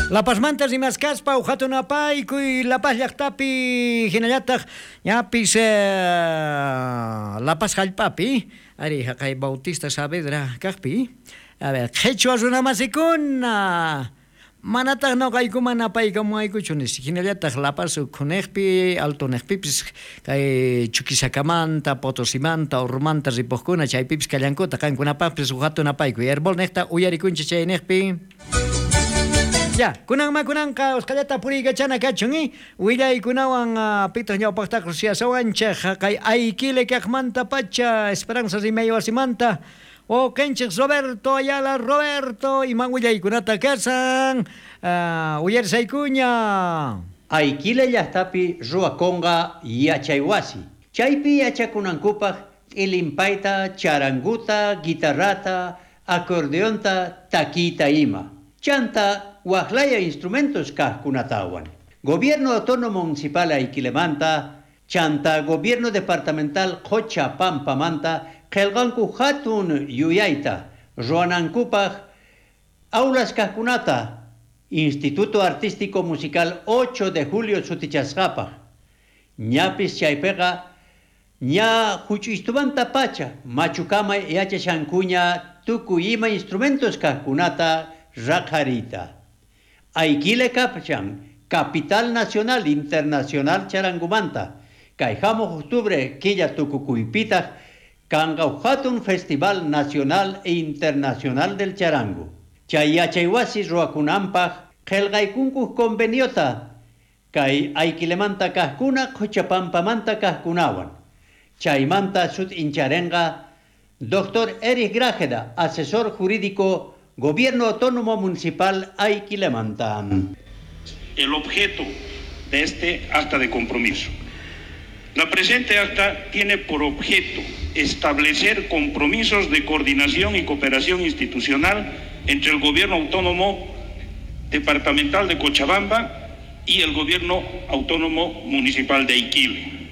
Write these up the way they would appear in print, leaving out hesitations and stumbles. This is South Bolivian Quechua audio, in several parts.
La Pazmanta rimaskaspa uj hatun apaykuy La Paz llaqtapi hinallataq ñapis La Paz hallp'api ari haqay Bautista Saavedra kaqpi a ver qhichwa runamasikuna manataq noqaykuman apaykamuwaykuchu nispa hinallataq La Paz ukhuniqpi altoniqpipis kay Chuquisakamanta Potosimanta Orromanta ripuqkuna chaypipis kallankutaq qankunapaqpis uj hatun apaykuy Herbol niqta uyarikunchik chayniqpi. Ya, kunanma kunanqa usqhayllata puriykachana kachun, i willaykunawan pitaq ñawpaqtaqa rusiyasawanchej haqay Aiquile kaqmantapacha Esperanza rimay wasimanta wawqenchej Roberto Ayala. Roberto, iman willaykunata kasan uyarisaykuña. Aiquile llajtapi ruwakonqa yachaywasi, chaypi yachakunankupaj t'ilinpayta, charanguta, guitarrata, acordeonta, takiyta ima. Chanta wajlaya instrumentos kajkunatawan. Gobierno Autónomo Municipal Aiquilemanta, chanta Gobierno Departamental Qocha Pampamanta, qhelqanku hatun yuyayta, ruwanankupaj aulas kajkunata, Instituto Artístico Musical 8 de Julio sutichasqapaj. Ñapis chaypiqa ña huch'uystumanta pacha machukama yachashankuña tukuy ima instrumentos kajkunata raqhariyta. Aiquile kapchan, Capital Nacional Internacional charangumanta, kay hamuq octubre killa tukukuypitaq kanqa hatun Festival Nacional e Internacional del Charango. Chay yachaywasi ruwakunanpaq qhelqaykunku conveniota kay Aiquilemanta kajkuna Qochapampamanta kajkunawan. Chaymanta sut'incharenqa Dr. Erich Grajeda, asesor jurídico Gobierno Autónomo Municipal Aiquilemanta. El objeto de este acta de compromiso. La presente acta tiene por objeto establecer compromisos de coordinación y cooperación institucional entre el Gobierno Autónomo Departamental de Cochabamba y el Gobierno Autónomo Municipal de Aiquile,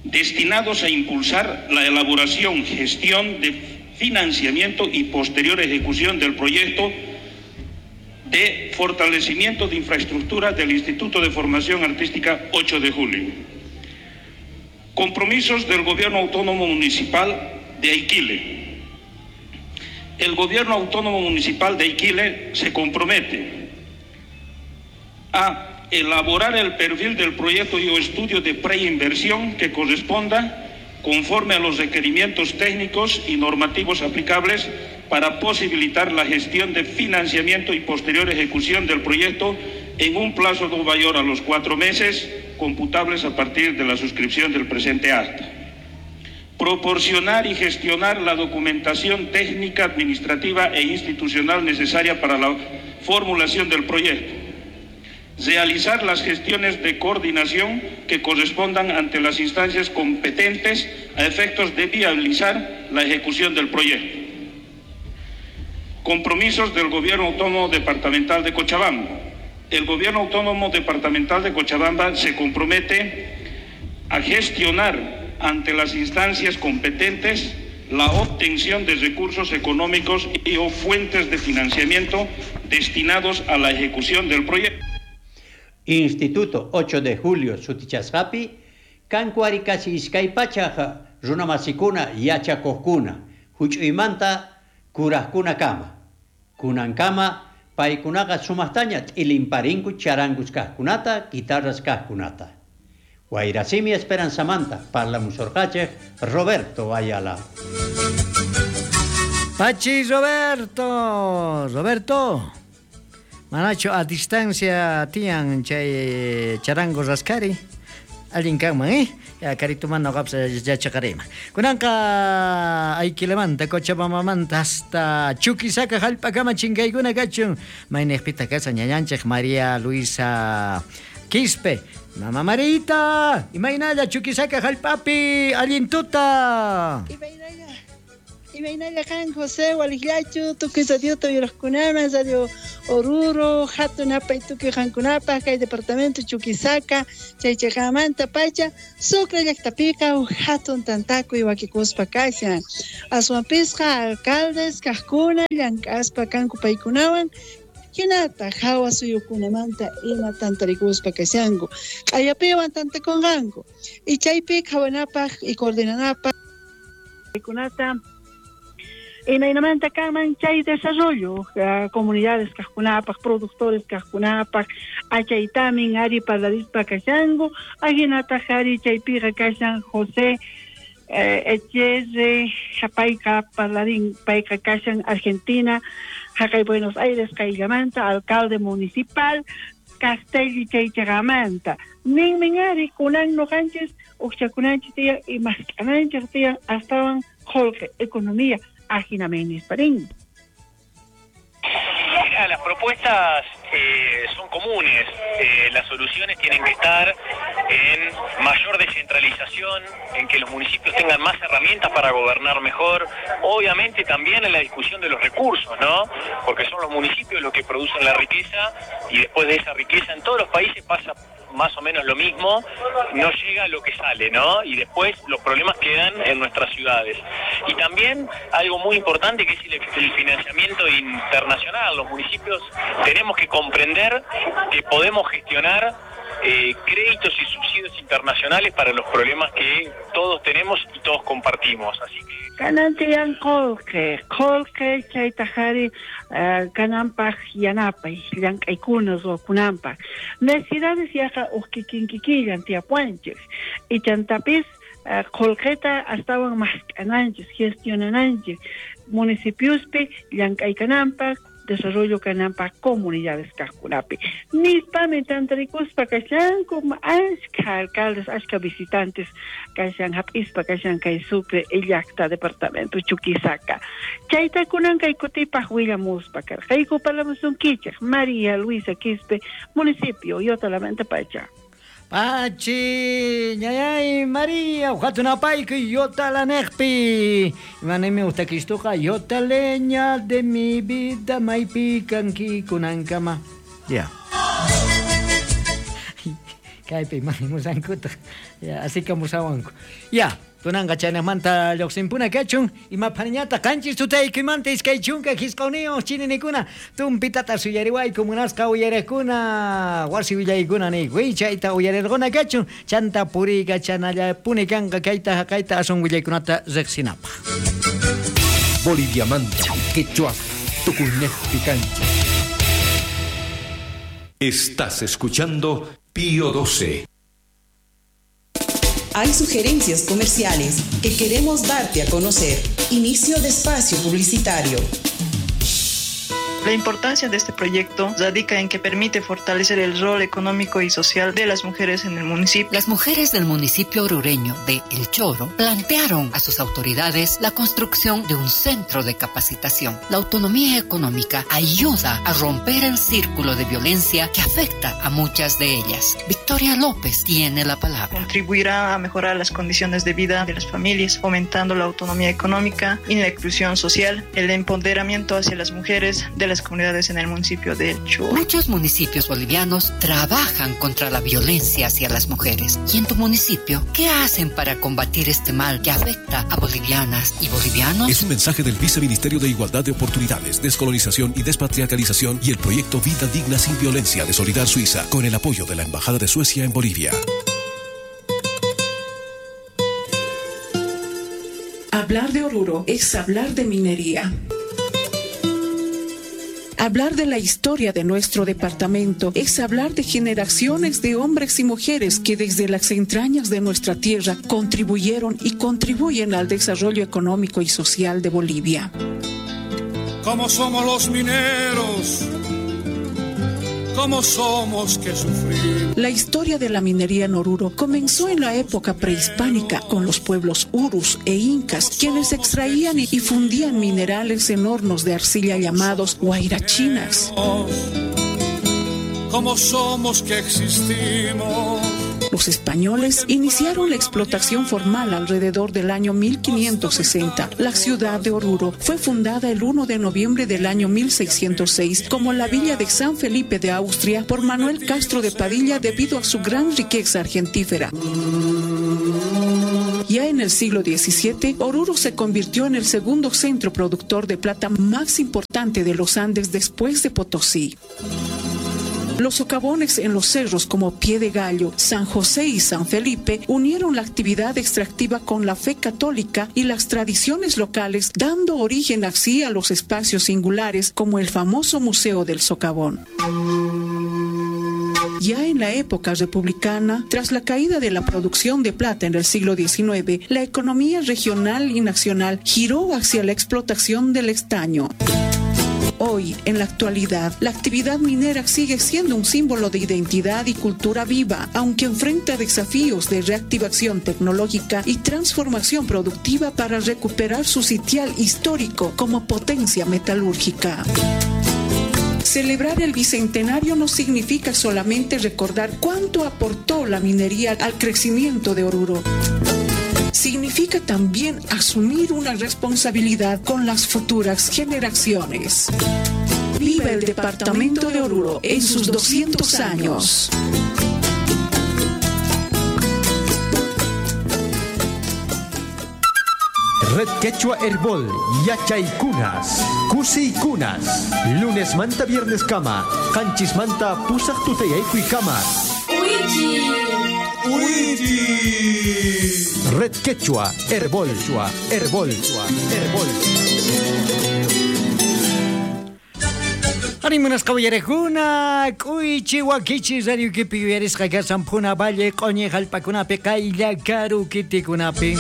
destinados a impulsar la elaboración, gestión de financiamiento y posterior ejecución del proyecto de fortalecimiento de infraestructura del Instituto de Formación Artística 8 de Julio. Compromisos del Gobierno Autónomo Municipal de Aiquile. El Gobierno Autónomo Municipal de Aiquile se compromete a elaborar el perfil del proyecto y o estudio de preinversión que corresponda conforme a los requerimientos técnicos y normativos aplicables para posibilitar la gestión de financiamiento y posterior ejecución del proyecto en un plazo no mayor a los 4 meses computables a partir de la suscripción del presente acta. Proporcionar y gestionar la documentación técnica, administrativa e institucional necesaria para la formulación del proyecto. Realizar las gestiones de coordinación que correspondan ante las instancias competentes a efectos de viabilizar la ejecución del proyecto. Compromisos del Gobierno Autónomo Departamental de Cochabamba. El Gobierno Autónomo Departamental de Cochabamba se compromete a gestionar ante las instancias competentes la obtención de recursos económicos y o fuentes de financiamiento destinados a la ejecución del proyecto. Instituto 8 de Julio sutichasqapi, kanku ari casi iskay pachaj runamasikuna yachakuqkuna, huch'uymanta kurajkuna kama. Kunankama paykunaqa sumaqtaña t'ilinparinku charangus kaqkunata, guitarras kaqkunata. Wayrasimi Esperanzamanta, parlamusorqachej Roberto Ayala. Pachi Roberto, Roberto. Manachu a distancia tiyan chay charango raskari. Allin kanman, Ya karituman noqapas yachaqariyman. Kunanqa Aiquilemanta, Cochabambamanta hasta Chuquisaca hallp'akama chinkaykuna kachun. Mayniqpitaq kashan ñañanchej María Luisa Quispe. Mama Marita, imaynalla Chuquisaca hallp'api allin tuta. Imaynalla. Imaynalla kan José Walijllachu, tukuy radiota uyaraqkunaman, Radio Oruro, hatun apay tukuy qankunapaq kay departamento Chuquisaca, chay chayqamanta pacha, Sucre llaqtapiqa uj hatun tantakuy wakikuspa kashan. Aswanpisqa alcaldes kaqkuna llank'aspa kanku paykunawan, Hinataq hawa suyukunamanta ima tantarikuspa kashanku. Q'ayapiwan tantakunqanku. Y chaypi qhawanapaq y coordinanapaq kunata imaynamanta kanman chay desarrollo comunidades kaqkunapaq, productores kaqkunapaq, achaytamin ari parlarispa kashanku, ahinataq ari chaypiqa kashan José Echerre, payqa parlarin, payqa kashan Argentina, haqay Buenos Aires qayllamanta, alcalde municipal Castelli chaychaqamanta. Ninmin ari kunan noqanchis uqchakunanchis tiyan y mask'ananchis tiyan astawan qolqe economía ajinamin nisparin. Mira, las propuestas son comunes. Las soluciones tienen que estar en mayor descentralización, en que los municipios tengan más herramientas para gobernar mejor, obviamente también en la discusión de los recursos, ¿no? Porque son los municipios los que producen la riqueza y después de esa riqueza en todos los países pasa más o menos lo mismo, no llega lo que sale, ¿no? Y después los problemas quedan en nuestras ciudades. Y también algo muy importante que es el financiamiento internacional. Los municipios tenemos que comprender que podemos gestionar créditos y subsidios internacionales para los problemas que todos tenemos y todos compartimos. Así que kanan tiyan qolqe, qolqe chaytaqari kananpaq yanapay, llank'aykuna ruwakunanpaq. Necesidades yaqa uq kikinkikillan tiyapuanchis. Ichantapis qolqeta astawan mask'ananchis, gestionananchis municipiospi llank'aykananpaq, desarrollo kananpaq comunidades kaqkunapi. Nispami tantarikuspa kashanku ashka alcaldes, ashka visitantes kashan hap'ispa kashan kay Sucre llaqta departamento Chuquisaca. Chayta kunan kay kutipaq willamuspa karqayku parlamusunkichik María Luisa Quispe, municipio Yotalamanta pacha. Pachi, ñayay María, ujatunapayku yotalaneqpi. Imanaymi utakishtuqa yotaleña de mi vida maypi kanki kunankama. Ya. Kaypi imanimusankutaq. Ya, así kamusawanku. Ya. Kunanqa chaynaqmanta lluqsinpuna kachun imapaniñata qanchis tutaykimanta iskay chunka hisqawniyuq chininikuna tumpitata suyariwayku munasqa uyariqkuna wasi willaykuna niykuy chayta uyarirquna kachun chanta puriykachanallapuni kanqa kayta haqayta asun willaykunata riqsinapaq. Boliviamanta quechua tukuynejpi kanchik. Estás escuchando Pío 12. Hay sugerencias comerciales que queremos darte a conocer. Inicio de espacio publicitario. La importancia de este proyecto radica en que permite fortalecer el rol económico y social de las mujeres en el municipio. Las mujeres del municipio orureño de El Choro plantearon a sus autoridades la construcción de un centro de capacitación. La autonomía económica ayuda a romper el círculo de violencia que afecta a muchas de ellas. Victoria López tiene la palabra. Contribuirá a mejorar las condiciones de vida de las familias, fomentando la autonomía económica y la inclusión social, el empoderamiento hacia las mujeres de las comunidades en el municipio de El Choro. Muchos municipios bolivianos trabajan contra la violencia hacia las mujeres. ¿Y en tu municipio qué hacen para combatir este mal que afecta a bolivianas y bolivianos? Es un mensaje del Viceministerio de Igualdad de Oportunidades, Descolonización y Despatriarcalización y el proyecto Vida Digna sin Violencia de Solidar Suiza, con el apoyo de la Embajada de Suecia en Bolivia. Hablar de Oruro es hablar de minería. Hablar de la historia de nuestro departamento es hablar de generaciones de hombres y mujeres que desde las entrañas de nuestra tierra contribuyeron y contribuyen al desarrollo económico y social de Bolivia. Como somos los mineros, como somos que sufrimos. La historia de la minería en Oruro comenzó en la época prehispánica con los pueblos urus e incas, quienes extraían y fundían minerales en hornos de arcilla llamados huayrachinas. Como somos que existimos. Los españoles iniciaron la explotación formal alrededor del año 1560. La ciudad de Oruro fue fundada el 1 de noviembre del año 1606 como la villa de San Felipe de Austria por Manuel Castro de Padilla debido a su gran riqueza argentífera. Ya en el siglo XVII, Oruro se convirtió en el segundo centro productor de plata más importante de los Andes después de Potosí. Los socavones en los cerros como Pie de Gallo, San José y San Felipe unieron la actividad extractiva con la fe católica y las tradiciones locales, dando origen así a los espacios singulares como el famoso Museo del Socavón. Ya en la época republicana, tras la caída de la producción de plata en el siglo XIX, la economía regional y nacional giró hacia la explotación del estaño. Hoy, en la actualidad, la actividad minera sigue siendo un símbolo de identidad y cultura viva, aunque enfrenta desafíos de reactivación tecnológica y transformación productiva para recuperar su sitial histórico como potencia metalúrgica. Celebrar el bicentenario no significa solamente recordar cuánto aportó la minería al crecimiento de Oruro. Significa también asumir una responsabilidad con las futuras generaciones. Viva el departamento de Oruro en sus 200 años. Red Quechua Herbol, Yachaykunas, Kusiykunas, lunes manta viernes kama, qanchis manta pusaq tutayaykuy kama. Red Quechua Herbol, Herbol, Herbol. Arimunas kawayarekuna, k'uychi wakichi radiukipi yuyarisqa kasan Puna Valle q'uñi jallp'akunapi qaylla karu kitikunapi.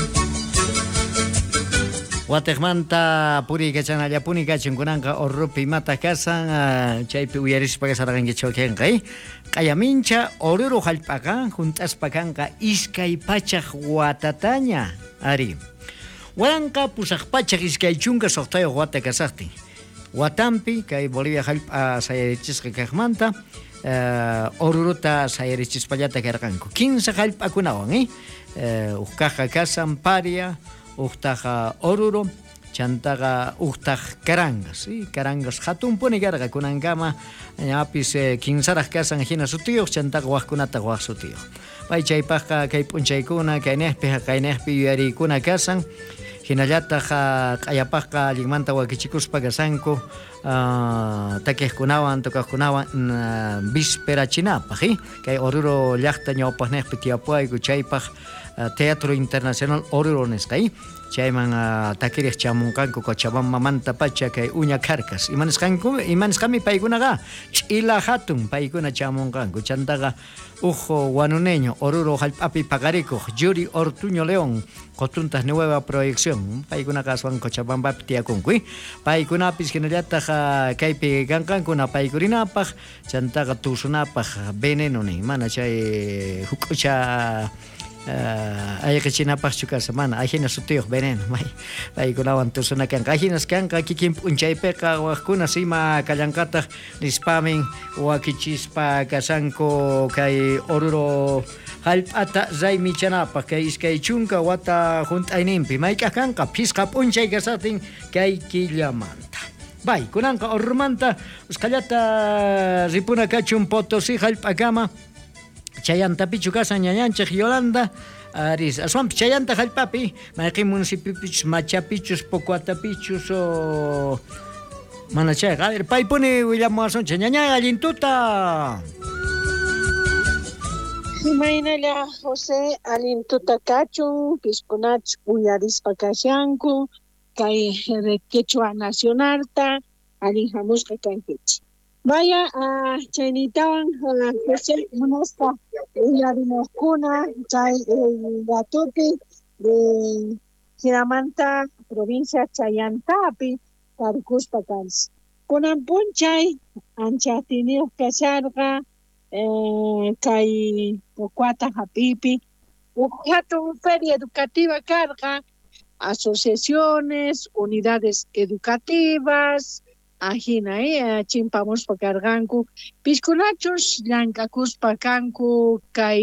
Watejmanta puriykachanallapuni kachun kunanqa Oruropi imata kasan chaypi uyarispa kasarqankichik wakinqa q'ayamincha Oruro jallp'aqa junt'aspa kanqa 200 watataña ari 1826 wata kasaqtin watampi kay Bolivia jallp'a sayarichisqa kaqmanta Orurota sayarichispallata karqanku 15 jallp'akunawan uqkaqqa kasan Paria uqtaqa Oruro, chantaqa uqtaq Carangas, Carangas hatunpuni karqa kunankama ñapis kinsaraq kasan hina sutiyuq chantaqa waqkunataq waq sutiyuq. Pay chaypaqqa kay p'unchaykuna kaynejpi haqaynejpi yuyariykuna kasan hinallataq q'ayapaqqa allinmanta wakichikuspa kasanku takiqkunawan tocaqkunawan visperachinapaq kay Oruro llaqta ñawpaqnejpi tiyapuayku chaypaq Teatro Internacional Oruro nisqa chayman takiriq chamunqanku Cochabambamanta pacha kay uña karkas imanisqanku imanisqami paykunaqa ch'ila hatun paykuna chamunqanku chantaqa uj wanuneño Oruro jallp'api paqarikuq Yuri Ortuño León qotuntaq nueva proyección paykunaqa aswan Cochabambapi tiyakunku paykunapis hinallataq kaypi kanqanku napaykurinapaq chantaqa tusunapaq veneno nin mana chay huk'ucha ayqichinapaqchu kasa mana ajina sutiyuq veneno may paykunawan tusuna kanqa ajinas kanqa kikin p'unchaypiqa waqkunas ima kallanqataq nispamin wakichispa kasanku kay Oruro jallp'ata raymichanapaq kay 20 wata junt'ayninpi mayk'aq kanqa phisqa p'unchay kasatin kay killamanta. Bay, kunanqa Oruromanta usqhallata ripuna kachun Potosí jallp'akama Chayantapichu kasan ñañanchik Yolanda aris aswanpi chayanta jallp'api mayqin municipipichus Machapichus Pocuatapichus o mana chayqa a ver paypuni willamuwasunchik ñañay allintuta. Imaynalla José allintuta kachun piskunach uyarispa kashanku kay Quechua Nacionalta allin hamusqa kankichik. Vaya chaynitawan José munaspa uyarimuqkuna chay ratupi de hinamanta provincia Chayantapi tarikuspa kanchik. Kunan p'unchay ancha atiyniyuq kasharqa kay Pocuata hap'ipi uj hatun feria educativa karqa asociaciones, unidades educativas ajina chimpamuspa karqanku piskunachus llank'akuspa kanku kay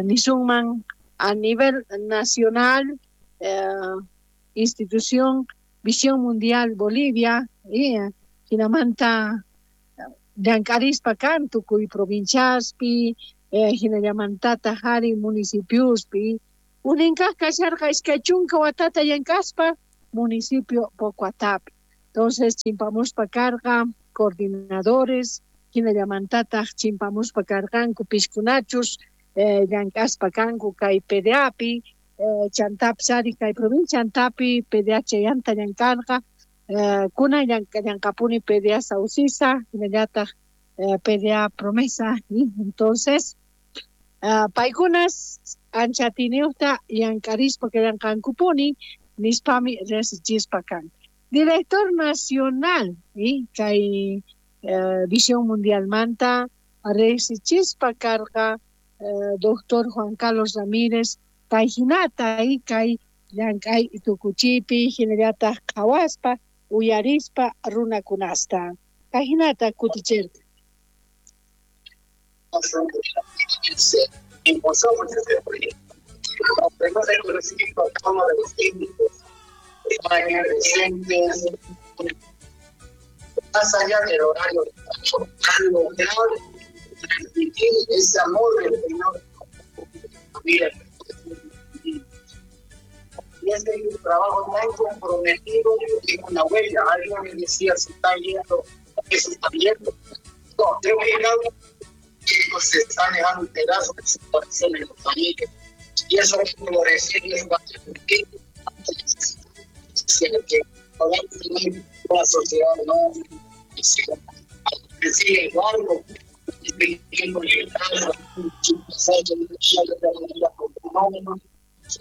nisunman a nivel nacional institución Visión Mundial Bolivia hinamanta llank'arispa kan tukuy provinciaspi hinallamantataq ari municipiospi Uninkaq kasharqa 20 watata llank'aspa municipio Pocoatapi. Entonces chimpamuspa karqa coordinadores, hinallamantataq chimpamuspa karqanku piskunachus llank'aspa kanku kay PDApi, chantapis ari kay provincia antapi PDA chayanta llank'arqa, kunan llank'apuni PDA Saucisa, hinallataq PDA Promesa, y entonces paykunas ancha atiyniyuqta llank'arispa kallanqankupuni nispami riqsichispa kan. Director Nacional y kay Visión Mundialmanta riqsichispa karqa doctor Juan Carlos Ramírez kay hinata y kay llank'ay tukuchipi hinallataq qhawaspa uyarispa runakunasta kay hinata kutichirqa. Impulsamos este proyecto. Tenemos el conocimiento a todos los técnicos, docentes, más allá del horario, lograr transmitir ese amor del Señor. Mira, y este trabajo tan comprometido tiene una huella. Alguien me decía, se está viendo, que se está viendo. No, creo que cada uno se está dejando un pedazo de su corazón en la familia. Y eso es florecer y es que podamos tener una sociedad no decir Eduardo,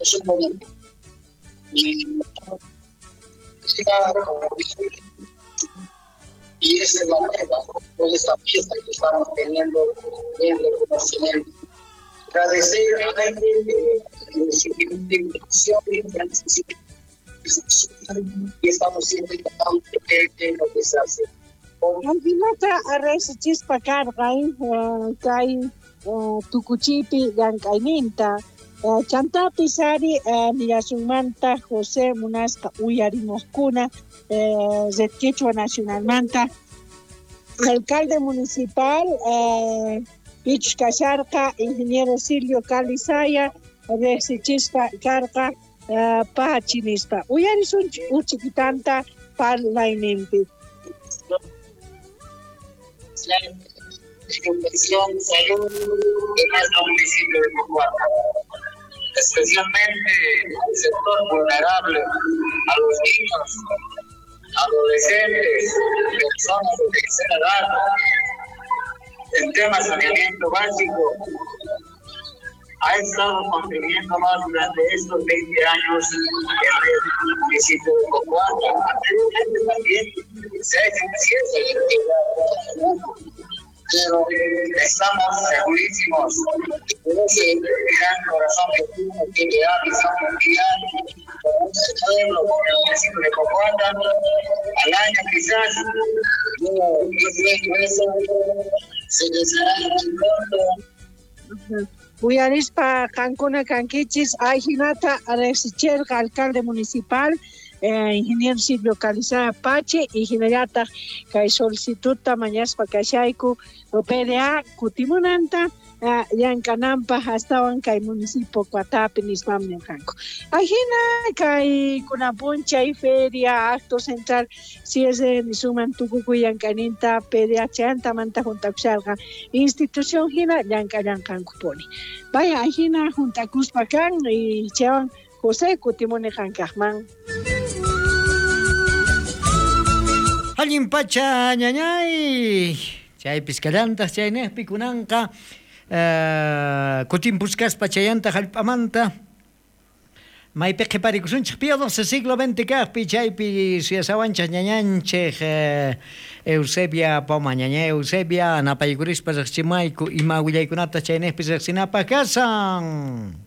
es un momento. Y esa es la meta de esta fiesta que estamos teniendo en reconocimiento. Agradecer a la gente y estamos siempre tratando de ver lo que se hace. Alvinata arresichispa karqa kay tukuchipi llank'ayninta. Chantapis ari nillasunmanta José munaspa uyarimuqkuna Red Quechua Nacionalmanta alcalde municipal pichus kasharqa ingeniero Silvio Calizaya riqsichispa karqa pachi nispa uyarisunchik uchikitanta parlayninpi. Educación, salud de nuestro municipio de Pocoata, especialmente al sector vulnerable, a los niños, adolescentes, personas de tercera edad. El tema saneamiento básico ha estado contribuyendo más durante estos 20 años en el municipio de Pocoata. Anteriormente también se ha hecho un cierre, pero estamos segurísimos de ese gran corazón que tiene que le da visión mundial con este pueblo, con el municipio de Pocoata. Al año quizás, yo creo que eso se les hará muy pronto. Uyarispa qankuna kankichis ayhinata riqsichirqa alcalde municipal ingeniero Silvio Calizaya Pache y hinallataq kay solicitudta mañaspa kashayku PDA kutimunanta llank'ananpaq astawan kay municipio Pocoatapi nispam nirqanku. Ayhina kay kunan p'unchay feria acto central cierre nisuman tukukuy llank'ayninta PDA chayantamanta juntakusharqa institución hina llank'allanqankupuni. Vaya ayhina juntakuspa kan y chaywan José kutimuni qankaqman. Allin pacha ñañay chaypis kallantaq chaynejpi kunanqa kutimpusqaspa chayanta hallp'amanta maypi qhiparikusunchik Pío XII siglo XX kaqpi chaypi suyasawanchik ñañanchik Eusebia Poma. Ñaña Eusebia napaykurispa riqsichimayku ima willaykunata chaynejpi riqsinapaq kasan.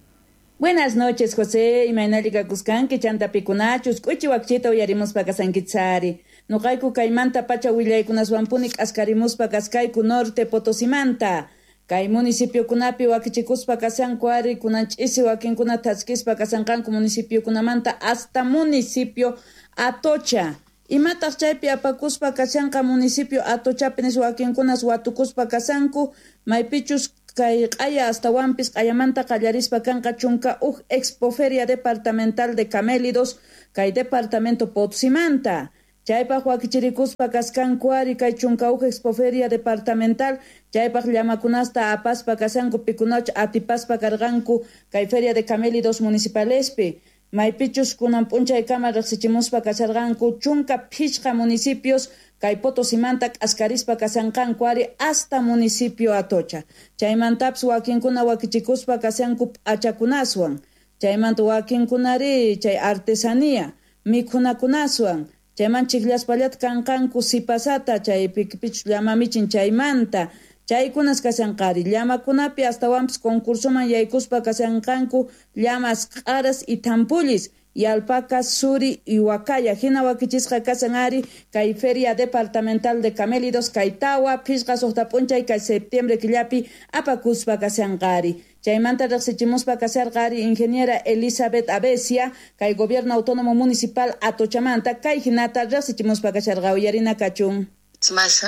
Buenas noches, José. Imaynalli kakuskanki chantapikunachus k'uchi wakchita uyarimuspa kasankichari. Nuqayku kaymanta pacha willaykunaswanpuni k'askarimuspa kaskayku norte Potosimanta. Kay municipiokunapi wakichikuspa kasanku ari kunan ch'isi wakinkuna thaskispa kasanqanku municipiokunamanta hasta municipio Atocha. Imataq chaypi apakuspa kashanqa municipio Atochapi nis wakinkunas watukuspa kasanku maypichus Kay q'aya astawanpis q'ayamanta qallarispa kanqa 11 Expoferia Departamental de Camélidos kay departamento Potosímanta. Chaypaq wakichirikuspa kaskanku ari kay 11 Expoferia Departamental chaypaq llamakunasta apaspa kashanku pikunach atipaspa karqanku kay Feria de Camélidos municipalespi. Maypichus kunan p'unchaykama riqsichimuspa kasharqanku 15 municipios kay Potosimanta k'askarispa kashanqanku ari hasta municipio Atocha. Chaymantapis wakinkuna wakichikuspa kashanku p'achakunaswan. Chaymanta wakinkunari chay artesanía mikhunakunaswan. Chayman chikllaspallata kanqanku sipasata chay pikipichus llamamichin chaymanta. Chaykunas kashanqari llamakunapi astawanpis concursoman yaykuspa kashanqanku llamas q'aras y tampullis y alpacas, suri y huacaya. Hina wakichisqa kashan ari kay Feria Departamental de Camélidos kay tawa 5 6 p'unchay kay septiembre killapi apakuspa kashanqari. Chaymanta riqsichimuspa kasharqari ingeniera Elizabeth Abesia kay Gobierno Autónomo Municipal Atochamanta kay hinata riqsichimuspa kasharqa uyarina kachun. Más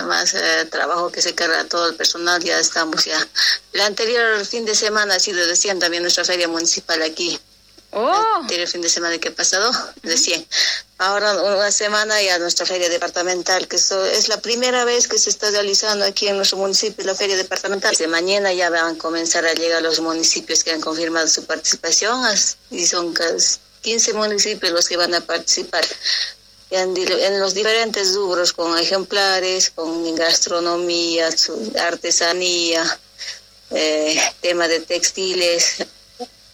trabajo que se carga todo el personal, ya estamos ya. El anterior fin de semana ha sido de 100 también nuestra feria municipal aquí. Oh. El anterior fin de semana que ha pasado, de 100. Ahora una semana ya nuestra feria departamental, que es la primera vez que se está realizando aquí en nuestro municipio la feria departamental. De mañana ya van a comenzar a llegar los municipios que han confirmado su participación, y son 15 municipios los que van a participar. En los diferentes rubros, con ejemplares, con gastronomía, artesanía, tema de textiles,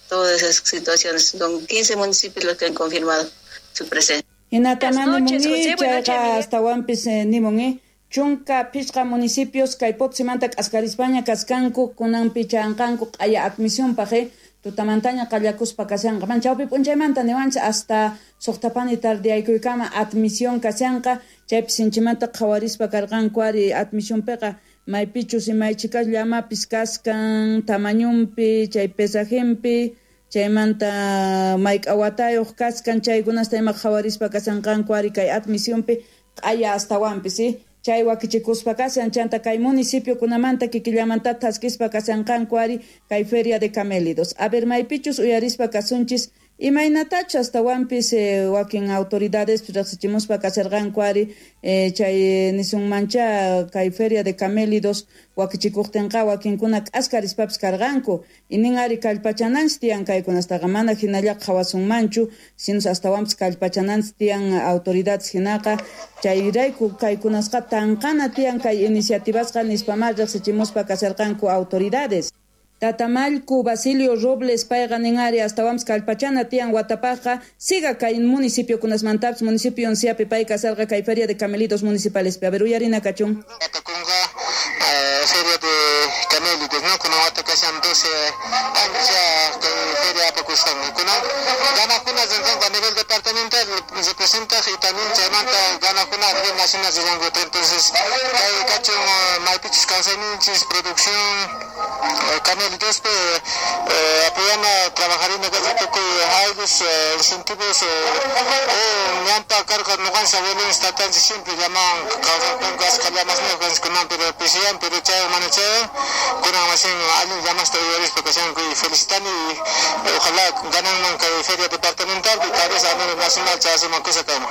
todas esas situaciones. Son 15 municipios los que han confirmado su presencia. Buenas noches, José. Buenas noches, astawanpis nimun, 15 municipios kay Potosímanta k'askarispaña kaskanku kunanpi chanqanku q'aya admisionpaj tutamantaña qallakuspa kashanqa. Man chawpi p'unchaymanta niwanchik hasta suqtapani tardiyaykuykama admisión kashanqa. Chaypi sinchimanta qhawarispa karqanku ari admisionpiqa maypichus imaychikas llamapis kaskan tamañunpi chay pesajenpi chaymanta mayk'a watayuq kaskan chaykunasta ima qhawarispa kashanqanku ari kay admisionpi q'aya astawanpis chay wakichikuspa kashan chanta kay municipiokunamanta kikillamanta thaskispa kashanqanku ari kay Feria de Camélidos. A ver maypichus uyarispa kasunchis imaynatachu astawanpis wakin autoridades riqsichimuspa kasharqanku ari chay nisunmancha kay Feria de Camélidos wakichikuqtinqa wakinkuna k'askarispapis karqanku inin ari kallpachananchis tiyan kaykunastaqa mana hinalla qhawasunmanchu sinus astawanpis kallpachananchis tiyan autoridades hinaqa chayrayku kaykunasqa tanqana tiyan kay iniciativasqa nispamá riqsichimuspa kasharqanku autoridades. Tatamallku Basilio Robles payqa nin ari astawanpis kallpachana tiyan watapajqa siga kay municipiokunasmantapis municipio onciapi pay kasarqa kay Feria de Camelitos municipalespi. A ver uyarina kachun. Feria de Camélidos, ¿no? Kuna wata kashan 12 años ya feria apakusqanmi. Kuna ganakuna rinqanku a nivel departamental representa y también chaymanta ganakuna a nivel nacional rinqanku. Entonces kay kachun maypichus kawsayninchis producción Camélidos apoyana trabajarina tukuy aylus incentivos ñampa karqa ñuqanchis abuelos tatanchis siempre llamaban kawsarqanku ashka llamasniyuq kunan pero pisiyan pero chaywan mana chaywan kunan masin allin llamasta uyarispa kashanku y felicitani y ojalá gananman kay feria departamental y tal vez a nivel nacional chayasuman kusa kanman.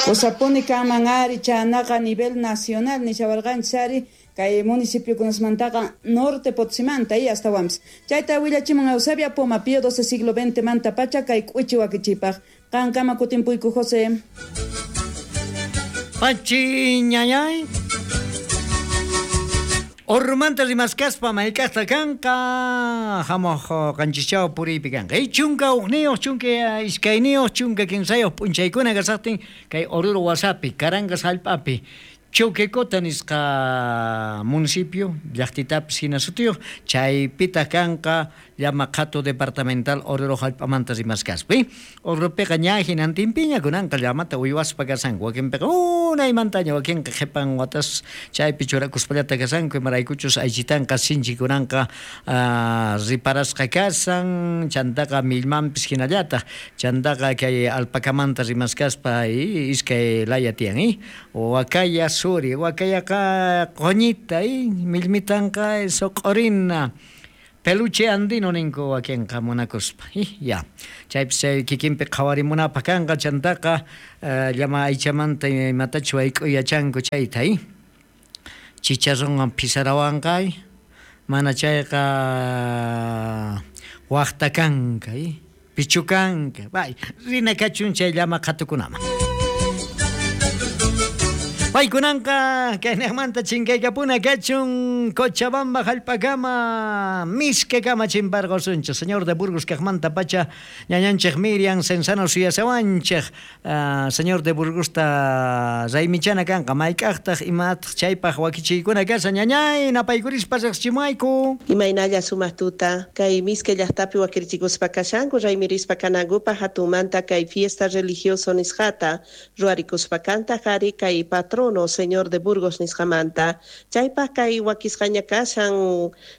Kusapuni kanman ari chanaqa a nivel nacional nishawarqanchis ari kay municipiokunasmantaqa norte Potosímanta y astawanpis. Chayta willachimun Eusebia Poma Pío XII siglo XX manta pacha kay k'uchi wakichipaq. Qankama kutimpuyku José. Pachi ñañay. Ormanta rimaskaspa mayk'aqta kanqa hamuq qanchischaw puriypi kanqa. 11 12 13 p'unchaykuna kasaqtin kay Oruro wasapi Carangas hallp'api Choquecota nisqa municipio llaqtitapis hina sutiyuq chaypitaq kanqa llama qhatu departamental Oruro hallp'amanta rimaskaspa. Oruropiqa ña hinantinpiña kunanqa llamata uywaspa kashanku wakinpiqa unaymantaña wakinqa qhipan watas chaypi churakuspallata kashanku imaraykuchus aychitanqa sinchi kunanqa riparasqa kashan chantaqa millmanpis hinallataq chantaqa kay alpacamanta rimaskaspa iskay laya tiyan wakaya suri wakayaqa quñita millmitanqa suq'urina Peluche andino ninku wakinqa munakuspa. Ya. Chaypis chay kikinpi qhawarimunapaq kanqa chantaqa llama aychamanta imatachus wayk'uy yachanku chayta, chicharronwan phisarawanqa, mana chayqa waqta kanka, pichukanka. Bay, rina kachun chay llama qhatukunaman. Paykunanqa kaynejmanta chinkaykapuna kachun Cochabamba jallp'akama misk'akama chimparqosunchej. Señor de Burgos kajmanta pacha ñañanchej Miriam Cenzano suyasawanchej. Señor de Burgosta raymichana kanqa mayk'ajtaj imataq chaypaj wakichiykuna kashan ñañay napaykurispa riqsichimuwayku. Imaynalla sumaq tuta kay misk'a llaqtapi wakirichikuspa kashanku raymirispa kanankupaj hatunmanta kay fiesta religioso nisqata ruwarikuspa kantaq ari kay patrono Señor de Burgos nisqamanta chaypaj kay wakisqaña kashan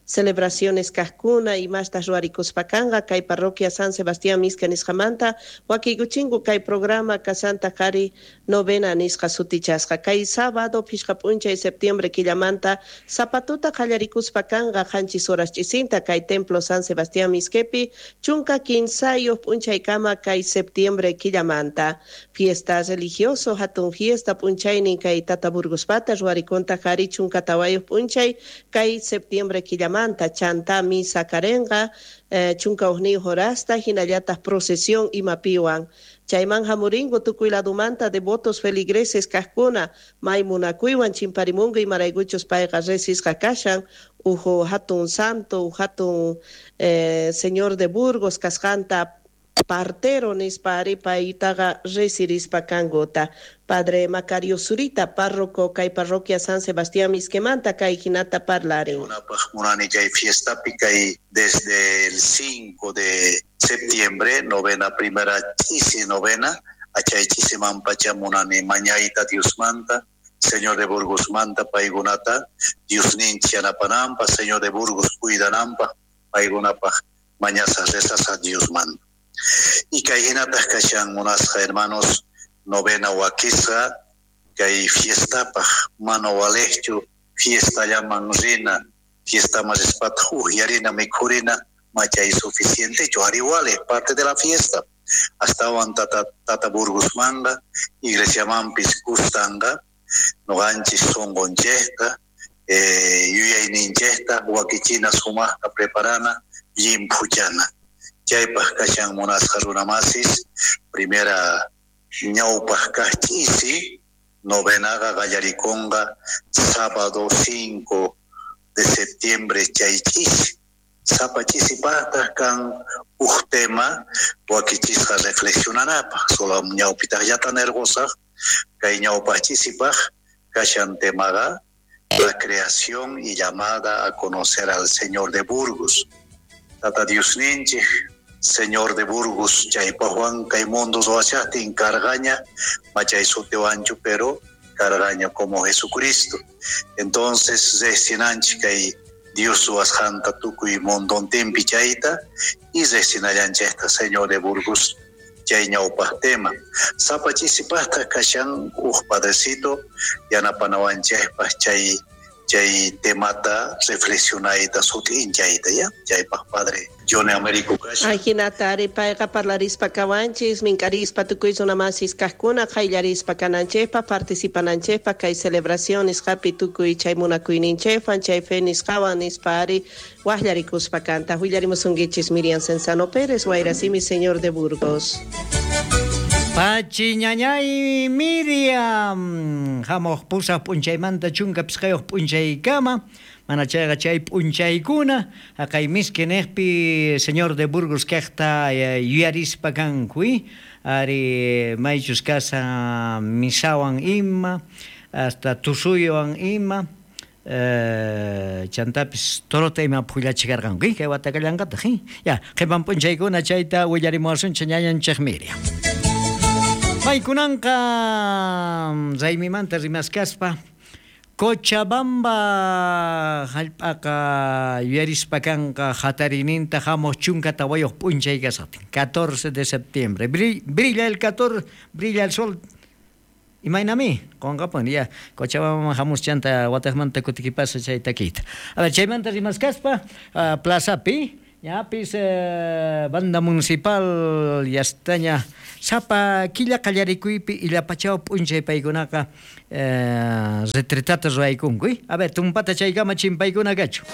celebraciones kajkuna imastas ruwarikuspa kanqa kay parroquia San Sebastián Misk'a nisqamanta wakiykuchinku kay programa kasantaq ari novena nisqa sutichasqa kay sábado phishqa p'unchay septiembre killamanta sapatuta qallarikuspa kanqa 7 horas ch'isinta kay templo San Sebastián Misk'epi 13 p'unchaykama kay septiembre killamanta fiesta religioso hatun fiesta p'unchaynin kay Tata Burgospata ruwarikunta qhari 14 p'unchay kay septiembre killamanta chanta misa karenqa 11 horasta hinallataq procesión imapiwan chayman hamuringu tukuy ladumanta devotos feligreses kajkuna may munakuywan chimparimungu imaraykuchus payqa resisqa kashan uhu hatun santo hatun Señor de Burgos kasqanta partero nispa ari paytaqa resirispa kankuta. Padre Macario Zurita, párroco kay parroquia San Sebastián Misk'emanta kay hinata parlarin. Munani kay fiestapi kay desde el 5 de septiembre, novena primera chisi novena, achay chisiman pacha munani mañayta Diosmanta, Señor de Burgos manta paykunata, Diosninchik yanapananpaj, Señor de Burgos cuidananpaj, paykunapaj mañasas rezas Diosmanta. Y kay hinataq kashan munasqa hermanos novena wakisqa kay fiestapaj mana walejchu fiestallaman rina fiestaman rispataq uhyarina mikhurina machay suficientechu ari walej parte de la fiesta astawan tata Burgosmanta iglesiamanpis kustanqa noqanchis sunqunchejta yuyayninchejta wakichina sumaqta preparana llimphuchana. Chaypaj kashan munasqa runamasis primera ñawpaj kaj ch'isi novenaqa qallarikunqa sábado 5 de septiembre chay ch'isi sapa ch'isipajtaj kan uj tema wakichisqa reflexionanapaj solo ñawpitajllata nirqusaj kay ñawpaj ch'isipaj kashan temaqa la creación y llamada a conocer al Señor de Burgos. Tata Diosninchik Señor de Burgos chaypajwan kay mundo ruwashaqtin cargaña machay sutiwanchu pero cargaña como Jesucristo. Entonces riqsinanchik kay Dios ruwasqanta tukuy mundontinpi chayta y riqsinallanchikta Señor de Burgos chay ñawpaj tema. Sapa chisipajtaj kashan uj padrecito yanapanawanchikpaj chay temata reflexionayta sut'inchayta ya chaypaj padre Johnny Américo kashan. Ajinata ari payqa parlarispa kawanchis mink'arispa tukuy runamasis kajkuna qayllarispa kananchikpaj participananchikpaj kay celebración nisqapi tukuy chay munakuyninchikwan chay fe nisqawan nispa ari waqllarikuspa kanta. Willarimusunkichis Miriam Cenzano Pérez, Wayrasimi, Señor de Burgos. Pachi ñañay Miriam hamuq pusaq p'unchaymanta 15 p'unchaykama mana chayqa chay p'unchaykuna haqay misk'i niqpi Señor de Burgos kaqta yuyarispa kanku ari maychus kashan misawan ima hasta tusuywan ima chantapis torota ima phullachikarqanku kay watakallanqataq ya qhipan p'unchaykuna chayta willarimuwasunchik ñañanchik Miriam. Paykunanqa raymimanta rimaskaspa Cochabamba jallp'aqa yuyarispa kanqa hatarininta hamuq 14 p'unchay kasaqtin 14 de septiembre brilla el 14 brilla el sol Imaynami qonqapuni ya Cochabambaman hamus chanta watejmanta kutikipasa chay takiyta. A ver, chaymanta rimaskaspa plazapi ñapis banda municipal yastaña sapa killa qallarikuypi illapachaw p'unchay paykunaqa retretata ruwaykunku. A ver, tumpata chaykama chimpaykuna kachu.